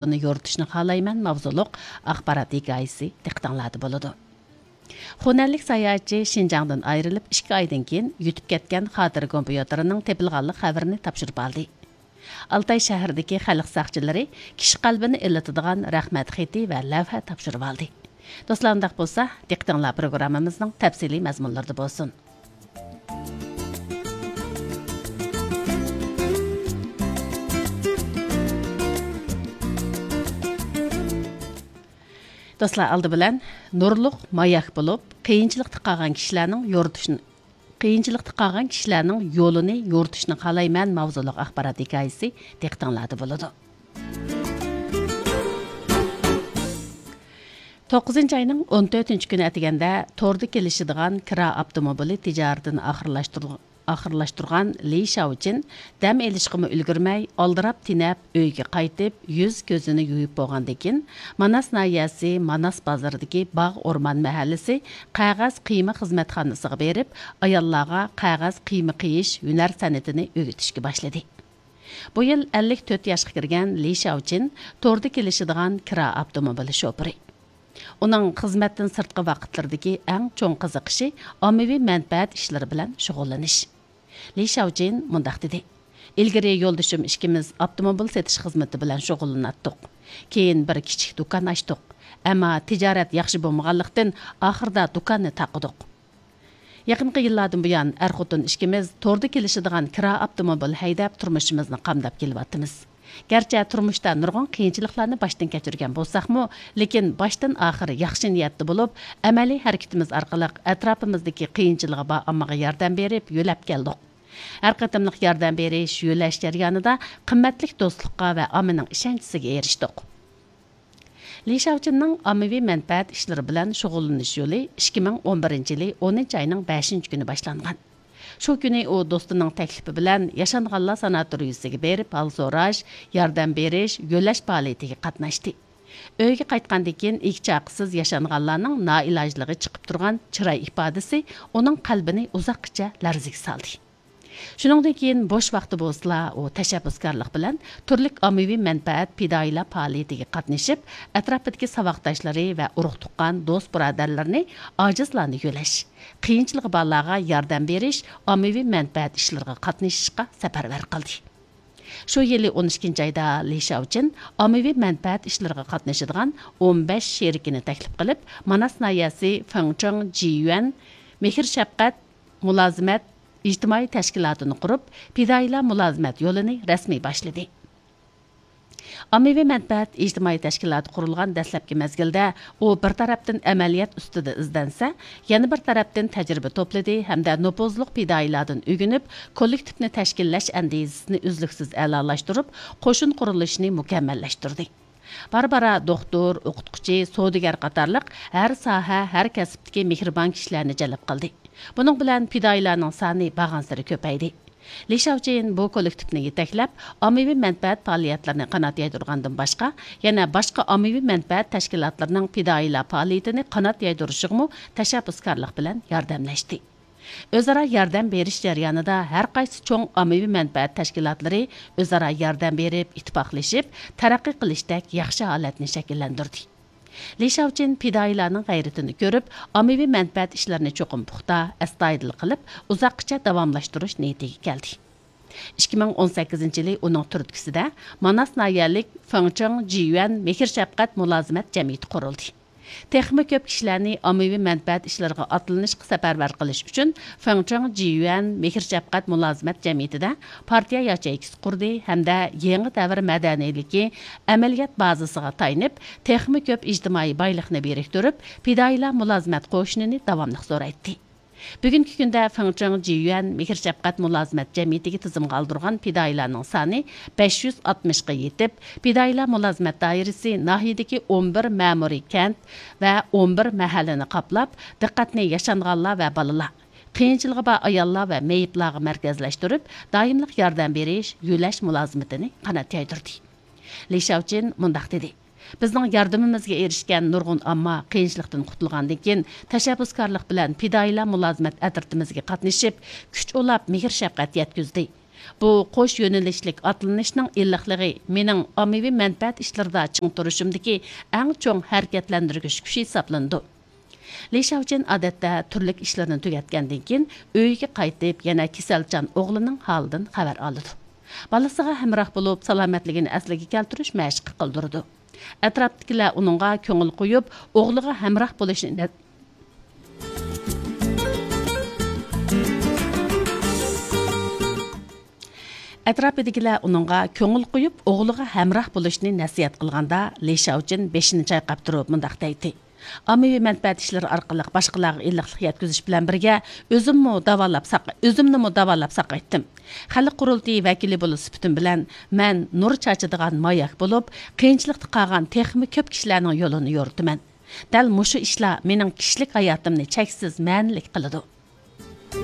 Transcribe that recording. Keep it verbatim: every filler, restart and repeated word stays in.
يولىنى يورۇتۇشنى خالايمەن ماۋزۇلۇق ئاخبارات ھېكايىسى دىققىتىڭلاردا بولىدۇ. خۇنەنلىك ساياھەتچى شىنجاڭدىن ئايرىلىپ ئىككى ئايدىن كېيىن يۈتۈپ كەتكەن خاتىرە كومپيۇتېرىنىڭ تېپىلغانلىق خەۋىرىنى تاپشۇرۇپ ئالدى. ئالتاي شەھىرىدىكى خەلق ساقچىلىرى كىشى قەلبىنى ئىللىتىدىغان رەھمەت خېتى ۋە لەۋھە تاپشۇرۇۋالدى. دوستلار، ئۇنداق بولسا، دىققىتىڭلار پروگراممىمىزنىڭ تەپسىلىي مەزمۇنلىرىدا بولسۇن. دوستلار، ئالدى بىلەن نۇرلۇق ماياك بولۇپ، قىيىنچىلىقتا قالغان كىشىلەرنىڭ يورۇتۇشىنى، قىيىنچىلىقتا قالغان كىشىلەرنىڭ يولىنى يورۇتۇشنى خالايمەن ماۋزۇلۇق ئاخبارات ھېكايىسى دىققىتىڭلاردا بولىدۇ. توققۇزىنچى ئاينىڭ ئون تۆتىنچى كۈنى ئەتىگەندە توردا كېلىشىدىغان كىرا ئاپتوموبىلى تىجارىتىنى ئاخىرلاشتۇرغان ئاخىرلاشتۇرغان لى شياۋچىن دەم ئېلىشقىمۇ ئۈلگۈرمەي، ئالدىراپ-تېنەپ ئۆيىگە قايتىپ، يۈز-كۆزىنى يۇيۇپ بولغاندىن كېيىن، ماناس ناھىيەسى ماناس بازىرىدىكى باغ ئورمان مەھەللىسى قەغەز قىيما خىزمەتخانىسىغا بېرىپ، ئاياللارغا قەغەز قىيما قىيىش ھۈنەر سەنئىتىنى ئۆگىتىشكە باشلىدى. بۇ يىل ئەللىك تۆت ياشقا كىرگەن لى شياۋچىن توردا كېلىشىدىغان كىرا ئاپتوموبىلى شوپۇرى. ئۇنىڭ خىزمەتتىن سىرتقى ۋاقىتلىرىدىكى ئەڭ چوڭ قىزىقىشى ئاممىۋى مەنپەئەت ئىشلىرى بىلەن شۇغۇللىنىش. لى شياۋچىن مۇنداق دېدى: «ئىلگىرى يولدىشىم ئىككىمىز ئاپتوموبىل سېتىش خىزمىتى بىلەن شۇغۇللىناتتۇق. كېيىن بىر كىچىك دۇكان ئاچتۇق. ئەمما تىجارەت ياخشى بولمىغانلىقتىن، ئاخىرىدا دۇكاننى تاقىدۇق. يېقىنقى يىللاردىن بۇيان، ئەر-خوتۇن ئىككىمىز توردا كېلىشىدىغان كىرا ئاپتوموبىل ھەيدەپ، تۇرمۇشىمىزنى قامداپ كېلىۋاتىمىز. گەرچە تۇرمۇشتا نۇرغۇن قىيىنچىلىقلارنى باشتىن كەچۈرگەن بولساقمۇ، لېكىن باشتىن ئاخىر ياخشى نىيەتتە بولۇپ، ئەمەلىي ھەرىكىتىمىز ئارقىلىق ئەتراپىمىزدىكى قىيىنچىلىقى بار ئاممىغا ياردەم بېرىپ، يۆلەپ كەلدۇق. ھەر قېتىملىق ياردەم بېرىش، يۆلەش جەريانىدا قىممەتلىك دوستلۇققا ۋە ئاممىنىڭ ئىشەنچىسىگە ئېرىشتۇق.» لى شياۋچىننىڭ ئاممىۋى مەنپەئەت ئىشلىرى بىلەن شۇغۇللىنىش يولى ئىككى مىڭ ئون بىرىنچى يىلى ئونىنچى ئاينىڭ بەشىنچى كۈنى باشلانغان. شۇ كۈنى ئۇ دوستىنىڭ تەكلىپى بىلەن ياشانغانلار ساناتورىيىسىگە بېرىپ، ھال سوراش، ياردەم بېرىش، يۆلەش پائالىيىتىگە قاتناشتى. ئۆيىگە قايتقاندىن كېيىن، ئىگە-چاقىسىز ياشانغانلارنىڭ نائىلاجلىقى چىقىپ تۇرغان چىراي ئىپادىسى ئۇنىڭ قەلبىنى ئۇزاققىچە لەرزىگە سالدى. شۇنىڭدىن كېيىن بوش ۋاقتى بولسىلا، ئۇ تەشەببۇسكارلىق بىلەن تۈرلۈك ئاممىۋى مەنپەئەت پىدائىيلار پائالىيىتىگە قاتنىشىپ، ئەتراپىدىكى ساۋاقداشلىرى ۋە ئۇرۇق-تۇغقان، دوست-بۇرادەرلىرىنى، ئاجىزلارنى يۆلەش، قىيىنچىلىقى بارلارغا ياردەم بېرىش، ئاممىۋى مەنپەئەت ئىشلىرىغا قاتنىشىشقا سەپەرۋەر قىلدى. شۇ يىلى ئون ئىككىنچى ئايدا لى شياۋچىن ئاممىۋى مەنپەئەت ئىشلىرىغا قاتنىشىدىغان ئون بەش شېرىكىنى تەكلىپ قىلىپ، ماناس ناھىيەسى فېڭچېڭ جىيۈەن مېھىر-شەپقەت مۇلازىمەت ئىجتىمائىي تەشكىلاتىنى قۇرۇپ، پىدائىيلار مۇلازىمەت يولىنى رەسمىي باشلىدى. ئاممىۋى مەنپەئەت ئىجتىمائىي تەشكىلاتى قۇرۇلغان دەسلەپكى مەزگىلدە ئۇ بىر تەرەپتىن ئەمەلىيەت ئۈستىدە ئىزدەنسە، يەنە بىر تەرەپتىن تەجرىبە توپلىدى ھەمدە نوپۇزلۇق پىدائىيلاردىن ئۆگىنىپ، كوللېكتىپنى تەشكىللەش ئەندىزىسىنى ئۈزلۈكسىز ئەلالاشتۇرۇپ، قوشۇن قۇرۇلۇشىنى مۇكەممەللەشتۈردى. بارا-بارا دوختۇر، ئوقۇتقۇچى، سودىگەر قاتارلىق ھەر ساھە، ھەر كەسىپتىكى مېھرىبان كىشىلەرنى جەلپ قىلدى. بۇنىڭ بىلەن پىدائىيلارنىڭ سانى بارغانسېرى كۆپەيدى. لى شياۋچىن بۇ كوللېكتىپنى يېتەكلەپ، ئاممىۋى مەنپەئەت پائالىيەتلىرىنى قانات يايدۇرغاندىن باشقا، يەنە باشقا ئاممىۋى مەنپەئەت تەشكىلاتلىرىنىڭ پىدائىيلار پائالىيىتىنى قانات يايدۇرۇشىغىمۇ تەشەببۇسكارلىق بىلەن ياردەملەشتى. ئۆزئارا ياردەم بېرىش جەريانىدا ھەر قايسى چوڭ ئاممىۋى مەنپەئەت تەشكىلاتلىرى ئۆزئارا ياردەم بېرىپ، ئىتتىپاقلىشىپ، تەرەققىي قىلىشتەك ياخشى ھالەتنى شەكىللەندۈردى. لى شياۋچىن پىدائىيلارنىڭ غەيرىتىنى كۆرۈپ، ئاممىۋى مەنپەئەت ئىشلىرىنى چوقۇم پۇختا، ئەستايىدىل قىلىپ، ئۇزاققىچە داۋاملاشتۇرۇش نىيىتىگە كەلدى. ئىككى مىڭ ئون سەككىزىنچى يىلى ئۇنىڭ تۈرتكىسىدە ماناس ناھىيەلىك فېڭچېڭ جىيۈەن مېھىر-شەپقەت مۇلازىمەت جەمئىيىتى قۇرۇلدى. تېخىمۇ كۆپ كىشىلەرنى ئاممىۋى مەنپەئەت ئىشلىرىغا ئاتلىنىشقا سەپەرۋەر قىلىش ئۈچۈن، فېڭچېڭ جىيۈەن مېھىر-شەپقەت مۇلازىمەت جەمئىيىتىدە پارتىيە ياچېيكىسى قۇردى ھەمدە يېڭى دەۋر مەدەنىيلىكى ئەمەلىيەت بازىسىغا تايىنىپ، تېخىمۇ كۆپ ئىجتىمائىي بايلىقنى بىرىكتۈرۈپ، پىدائىيلار مۇلازىمەت قوشۇنىنى داۋاملىق زورايتتى. بۈگۈنكى كۈندە فېڭچېڭ جىيۈەن مېھىر-شەپقەت مۇلازىمەت جەمئىيىتىگە تىزىمغا ئالدۇرغان پىدائىيلارنىڭ سانى بەش يۈز ئاتمىشقا يېتىپ، پىدائىيلار مۇلازىمەت دائىرىسى ناھىيەدىكى ئون بىر مەمۇرىي كەنت ۋە ئون بىر مەھەللىنى قاپلاپ، دىققەتنى ياشانغانلار ۋە بالىلار، قىيىنچىلىقى بار ئاياللار ۋە مېيىپلارغا مەركەزلەشتۈرۈپ، دائىملىق ياردەم بېرىش، يۆلەش مۇلازىمىتىنى قانات يايدۇردى. لى شياۋچىن مۇنداق دېدى: بىزنىڭ ياردىمىمىزگە ئېرىشكەن نۇرغۇن ئامما قىيىنچىلىقتىن قۇتۇلغاندىن كېيىن، تەشەببۇسكارلىق بىلەن پىدائىيلار مۇلازىمەت ئەترىتىمىزگە قاتنىشىپ، كۈچ ئۇلاپ، مېھىر-شەپقەت يەتكۈزدى. بۇ قوش يۆنىلىشلىك ئاتلىنىشنىڭ ئىللىقلىقى مېنىڭ ئاممىۋى مەنپەئەت ئىشلىرىدا چىڭ تۇرۇشۇمدىكى ئەڭ چوڭ ھەرىكەتلەندۈرگۈچ كۈچ ھېسابلىنىدۇ. لى شياۋجىن ئادەتتە تۈرلۈك ئىشلىرىنى تۈگەتكەندىن كېيىن ئۆيىگە قايتىپ، يەنە كېسەلچان ئوغلىنىڭ ھالىدىن خەۋەر ئالىدۇ. بالىسىغا ھەمراھ بولۇپ، سالامەتلىكىنى ئەسلىگە كەلتۈرۈش مەشىقى قىلدۇرىدۇ. ئەتراپتىكىلەر ئۇنىڭغا كۆڭۈل قويۇپ، ئوغلىغا ھەمراھ بولۇشنى نە-، ئەتراپىدىكىلەر ئۇنىڭغا كۆڭۈل قويۇپ، ئوغلىغا ھەمراھ بولۇشنى نەسىھەت قىلغاندا، لى شياۋجىن بېشىنى چايقاپ تۇرۇپ مۇنداق دەيتتى: ئاممىۋى مەنپەئەت ئىشلىرى ئارقىلىق باشقىلارغا ئىللىقلىق يەتكۈزۈش بىلەن بىرگە، ئۆزۈممۇ داۋالاپ ساق-، ئۆزۈمنىمۇ داۋالاپ ساقايتتىم. خەلق قۇرۇلتىيى ۋەكىلى بولۇش سۈپىتىم بىلەن، مەن نۇر چاچىدىغان ماياك بولۇپ، قىيىنچىلىقتا قالغان تېخىمۇ كۆپ كىشىلەرنىڭ يولىنى يورۇتىمەن. دەل مۇشۇ ئىشلار مېنىڭ كىشىلىك ھاياتىمنى چەكسىز مەنىلىك قىلىدۇ.